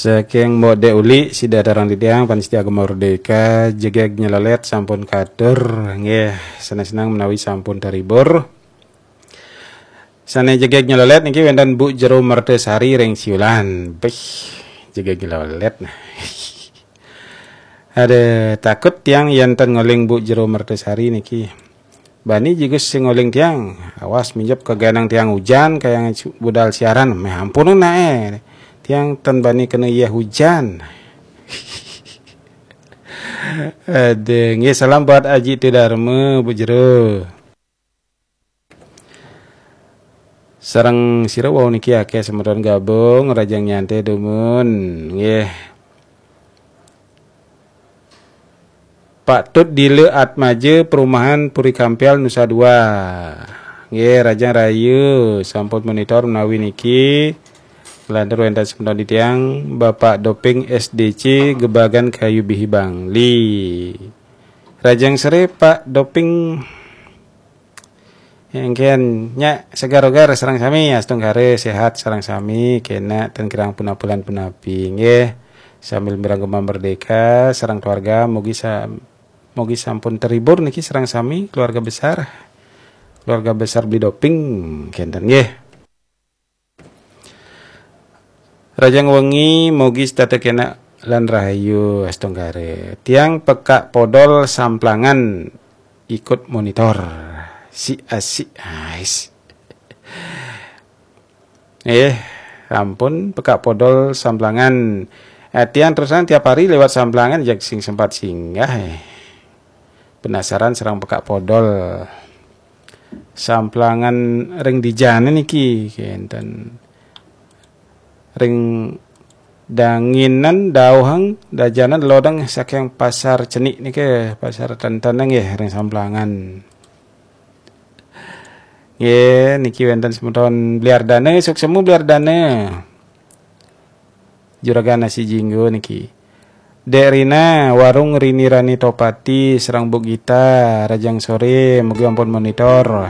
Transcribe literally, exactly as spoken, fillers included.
Saking Mbok Dek Uli, sida darang titiang, pamiarsa Gema Merdeka, jegeg nyelelet sampun katur, nggih, seneng-seneng menawi sampun terhibur. Sane jegeg nyelelet niki wenten Bu Jero Mertesari ring Siulan. Bih, jegeg nyelelet nah. Ada takut tiang yen ten ngoling Bu Jero Mertesari niki. Bani jigus sing ngoling tiang. Awas minjep ke ganang tiang hujan, kayang budal siaran. Meh ampun nae. Tiang ten bani kena iya hujan. Ada, nggih, salam buat Aji Tudarma, Bu Jero. Sareng sira wau niki akeh semeton gabung, rajang nyantai dumun, nggih. Pak Tut Dile Atmaja, Perumahan Puri Kampial, Nusa Dua. Nggih, rajang rahayu, sampun monitor menawi niki. Nglantur wenten semeton titiang, Bapak Doping S D C, Gebagan Kayu Bihi Bangli. Rajang sore, Pak Doping. Engken, nya segar-segar sareng sami, astungkara sehat sareng sami, kena ten kirang punapi lan punapi, nggih. Sambil mireng Gema Merdeka sareng keluarga, mugi sa-, mugi sampun terhibur niki sareng sami keluarga besar. Keluarga besar Beli Doping kenten, nggih. Rajang wengi, mugi setata kena lan rahayu astungkara. Tiang Pekak Podol Samplangan ikut monitor. Si asik, ais. Eh, ampun, Pekak Podol Samplangan. Eh, tiang terus terang tiap hari lewat Samplangan, jak sing sempat singgah, eh. Penasaran sareng Pekak Podol. Samplangan ring dijane niki, kenten. Ring danginan dauhang dajanan lodang saking Pasar Cenik niki, Pasar Tenten nggih, ring Samplangan. Nggih, niki wenten semeton Bliardana, suksma Bliardana. Juragan Nasi Jinggo niki. Dek Rina, warung Rini Rani Topati, sareng Bu Gita, rajang sore, mugi ampun monitor.